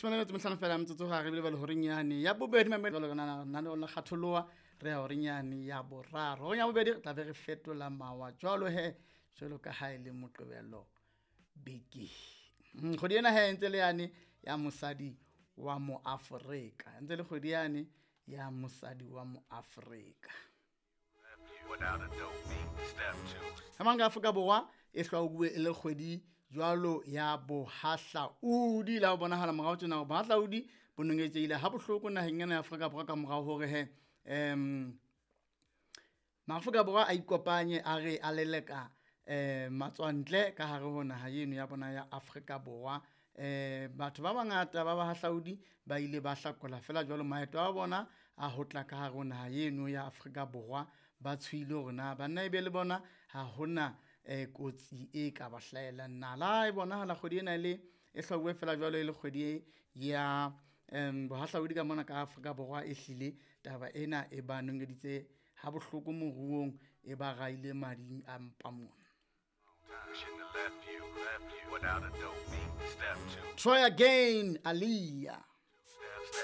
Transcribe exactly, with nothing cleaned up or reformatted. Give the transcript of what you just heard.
Some le metso mehlano fela metsotso ga re bile ba le horeng yane ya bobedi mamedi jwalo ka nana nana la kgatholoha re ya horeng yane ya boraro. Horeng ya bobedi re tla be re fetola mawa jwalo he jwalo ka ha e le Moqebelo beke. Mm, kgwedi ena he ntse le yane ya mosadi wa mo Afrika, ntse le kgwedi yane ya mosadi wa mo Afrika. Without a dope beat. Step two. Ka mang ka Afrika Borwa e hlwauwe e le kgwedi jwalo ya bohahlaudi la ho bonahala morao tjena hore bohahlaudi bo nongetsehile ha bohloko naheng ena ya Afrika Borwa ka morao hore he um Maafrika Borwa a ikopanye a re a leleka um matswantle ka hare ho naha eno ya bona ya Afrika Borwa. Um batho ba bangata ba bahahlaudi ba ile ba hlakola fela jwalo maeto a bona a ho tla ka hare ho naha eno ya Afrika Borwa ba tshohile hore na banna ebe le bona ha hona um kotsi e ka ba hlahelang na. La e bonahala kgwedi ena e le e hlwauwe fela jwalo e le kgwedi e ya um bohahlaudi ka mona ka Afrika Borwa e hlile taba ena e ba nongeditse ha bohloko moruong e ba raile mading a mpa mona. Shouldn't have left you, left you without a dope beat. Step two. Try again, Aaliyah.